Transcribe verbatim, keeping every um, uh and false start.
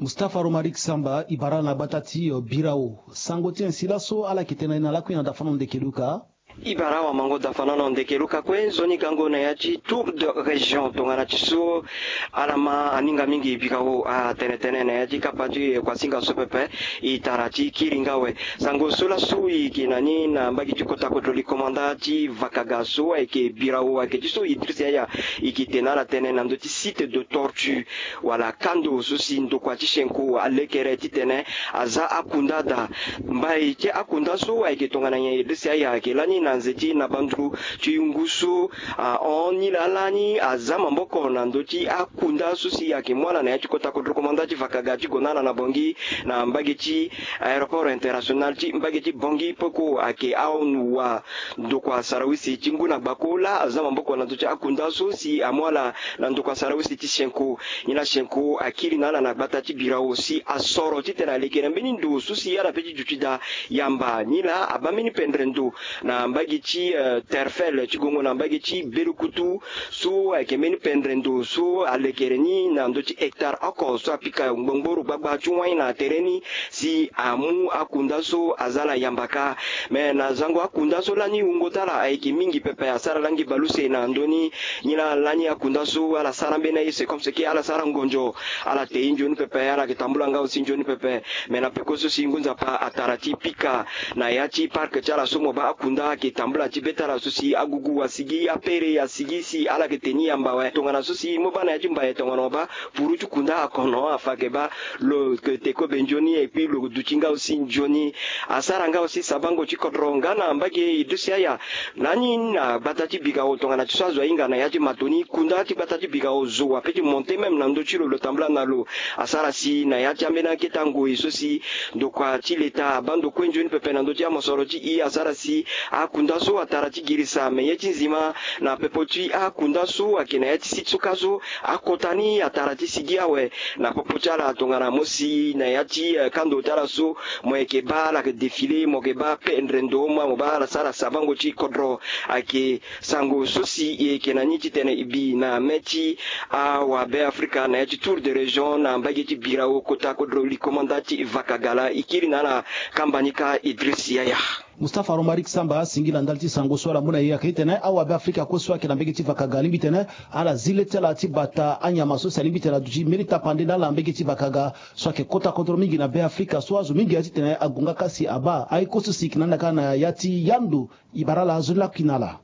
Mustapha Romaric Samba, e bara na gbata ti Birao. Sango ti nyen si laso ala yeke tene na lakui na dafa na ndeke luka? E bara awamango dafa na ndeke luka kue. Nzoni gango na ya ti tour de région tongana ti so ala ma aninga mingi Birao atene tënë na ya ti kapa ti kuasinga so pepe. E tara ti kiri nga awe. Sango so laso e yeke na ni na mbage ti kota kodro li komanda ti Vakaga so ayeke Birao ayeke ti so Idriss Yaya e yeke tene na ala tënë na ndö ti site de tortue wala kando so si ndokua ti Chenko alekere titene aza akunda daa. Mbai ti akunda so ayeke tongana nyen? Idriss Yaya ayeke lani na nze ti na banduru ti ngu so ahon ni laa lani aza maboko na ndö ti akunda so si ayeke mu ala na ya ti kota kodro komanda ti Vakaga ti gue na ala na Bangui na mbage ti aéroport international ti mbage ti Bangui peko ayeke awa ndokua sarawisi ti ngu na gbako laa aza maboko na ndö ti akunda so si amu ala na ndokua sarawisi ti Chenko. Nyen laa Chenko akiri na ala na gbata ti Birao si asoro titene aleke na mbeni ndo so si ala pe ti duti daa yamba. Nyen laa abaa mbeni pendre ndo na mbage ti Terfel ti gongo na mbage ti Belukutu so ayeke mbeni pendre ndo so alekere ni na ndö ti hectare oko so apika ngbongboro gbagba ti wai na tere ni si amu akunda so aza na yamba kâ. Me na zango akunda so lani wungo ti ala ayeke mingi pepe, asara langi baleuse na ndö ni. Nyen laa lani akunda so ala sara mbeni aye, c'est comme ce que ala sara ngonzo. Ala te ye nzoni pepe, ala yeke tambula nga aussi nzoni pepe. Me na peko so si ngu nzapa atara ti pika na ya ti parc ti ala so mo baa akunda ayeke tambula ti be ti ala so si agugu asigi, apere asigi si ala yeke te ni yamba awe. Tongana so si mo baa na ya ti mbaye tongana mo baa puru ti kunda akono afa ayeke baa lo yeke te kobe nzoni et puis lo duti nga aussi nzoni. Asara nga aussi sabango ti kodro nga na mbage Idriss Yaya. Lani na gbata ti Birao tongana ti so azo ahinga na ya ti mato ni, kunda ti gbata ti Birao zo ape ti monter même na ndö ti lo, lo tambula na lo. Asara si na ya ti ambeni akete ngoi so si ndokua ti leta abaa ndo kue nzoni pepe na ndö ti amosoro ti e, asara si akunda so atara ti girisa. Me ye ti nzima na pepo ti akunda so ayeke na ya ti site so kâ so akota ni atara ti sigi awe. Na popo ti ala tongana mo si na ya ti kando ti ala so mo yeke baa ala yeke défilé, mo yeke baa pendre ndo ma mo baa ala sara sabango ti kodro. Ayeke sango so si e yeke na ni titene e bi na mê ti awabe Afrika na ya ti tour de région na mbage ti Birao kota kodro li komanda ti Vakaga laa. E kiri na ala kamba ni kâ Idriss Yaya. Mustapha Romaric Samba asingila ndali ti sango so ala mu na e ayeke titene awabe Afrika kue so ayeke na mbage ti Vakaga alingbi titene ala zi le ti ala ti bata anyama so si alingbi titene aduti mbeni tapande na ala na mbage ti Vakaga so ayeke kota kodro mingi na be Afrika so azo mingi aye titene ague nga kâ si abaa aye kue so si e yeke na ni na kâ na ya ti yando. E bara ala azo ni lakui na ala.